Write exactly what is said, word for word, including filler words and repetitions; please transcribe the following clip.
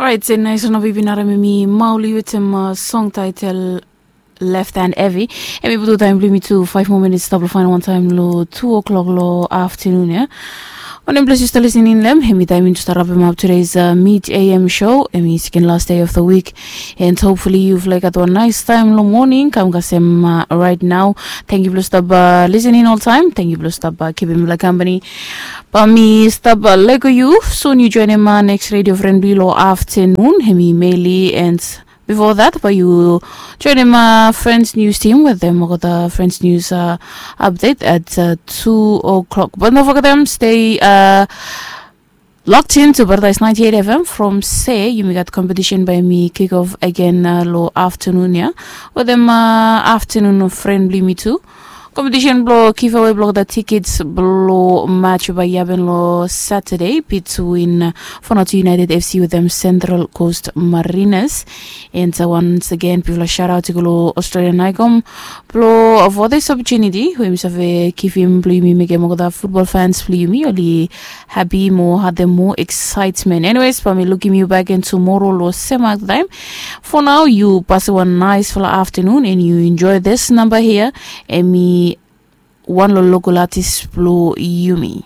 Orait, se nais ona bibi nara mi mi mauli wetem song title Left Hand Heavy. Em i putu taim bilong mi tu five more minutes stap lo final one time lo two o'clock lo afternoon ya. Wanem ples yu stap listening lem, em i taim mi tu stap rapim up today's uh, mid A M show. Em i second last day of the week. And hopefully you've like got one nice time lo morning. Kam kasem uh, right now. Thank you blo stap uh, listening all time. Thank you blo stap uh, keepim la company. Ba mi stap uh, lego yu. Soon you join him uh, next radio friend bilo afternoon. Em i Meli and before that, ba yu join him uh, friends news team with them. Got the friends news uh, update at uh, two o'clock. But don't forget them, stay uh, locked in to Paradise ninety-eight F M from se yumi gat competition by mi kick off again uh, lo afternoon ya. With them uh, afternoon friendly me too. Competition blo giveaway blo the tickets blo match by yaben lo Saturday between uh, Fonatu United F C with them Central Coast Mariners. And uh, once again, people a shout out to go lo Australian Icom blo for this opportunity we mi save give him blo yumi make him the football fans blo yumi oli happy mo had them more excitement. Anyways, pa mi looking you back in tomorrow lo same time. For now, you pass one nice fala afternoon and you enjoy this number here. Emi one lo local artist blo yumi.